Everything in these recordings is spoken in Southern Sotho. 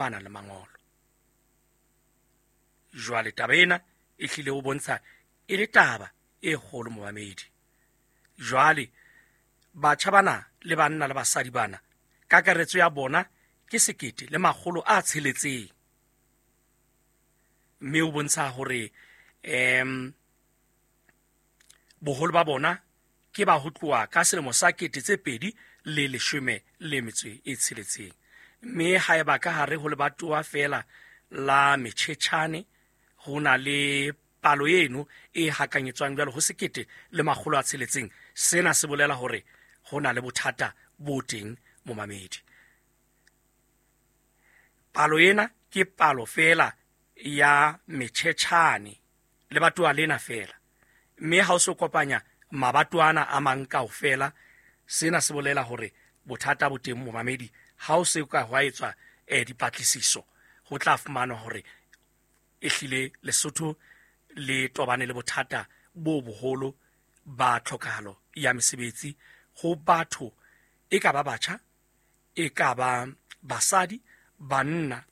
Ba nang le mangolo. Jwale taba ena e hlile o bontsha e le taba e kgolo, momamedi. Jwale batjha bana le banna le basadi bana, kakaretso ya bona ke 1600, mme o bontsha hore boholo ba bona ke ba ho tloha ka selemo sa 2016. Mme haeba ka hare ho lebatowa feela la Metjhetjhane ho na le palo eno e hakanyetswang jwalo ho 1600, sena se bolela hore ho na le bothata bo teng, momamedi. Palo ena ke palo feela ya Metjhetjhane, lebatowa lena feela, mme ha o se kopanya mabatoana a mang kaofela, sena se bolela hore bothata bo teng, momamedi. Ha o se ka hwa etswa dipatlisiso, ho tla fumanwa hore ehlile Lesotho le tobane le bothata bo boholo ba tlhokahalo ya mesebetsi ho batho, e ka ba batjha, e ka ba basadi, banna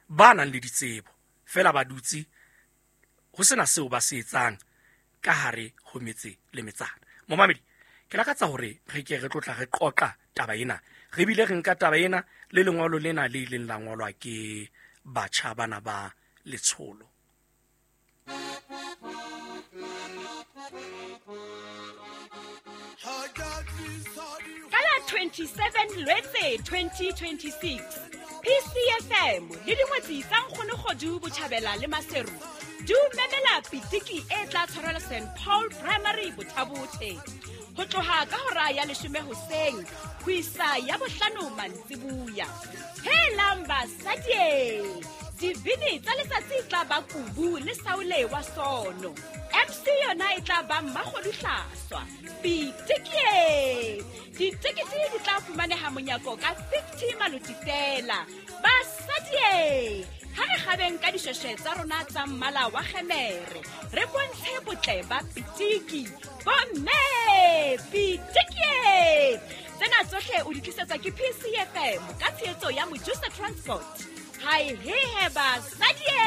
ba nang le ditsebo feela ba dutse ho sena seo ba se etsang ka hare ho metse le metsana. Momamedi, ke lakatsa hore re ke re tlotla re qoqa taba ena, re bile re nka taba ena le lengolo lena le ileng la ngolwa ke batjha bana ba letsholo. Ka la 27 Lwetse 2026, PCFM le dingwetsi tsa Nkgonogodu Botjhabela le Maseru di o memela pitiki e tla tshwarelwa St Paul Primary Bothabothe ho tloha ka hora ya 10 hoseng ho isa ya 5 mantsibuya. Helang basadie, dibini tsa letsatsi tla ba Kubu le Saule wa Sono, MC yona e tla ba Mmakgodu Hlaswa. Pitikie, ditekete di tla fumaneha monyako ka 50 maloti fela. Basadie, ha re kgabeng ka dishweshwe tsa rona tsa mmala wa kgemere, re bontshe botle ba pitiki. Bomme, pitikie! Tsena tsohle o di tlisetswa ke PCFM ka tshehetso ya Mojusa Transport. Hai hehe basadie!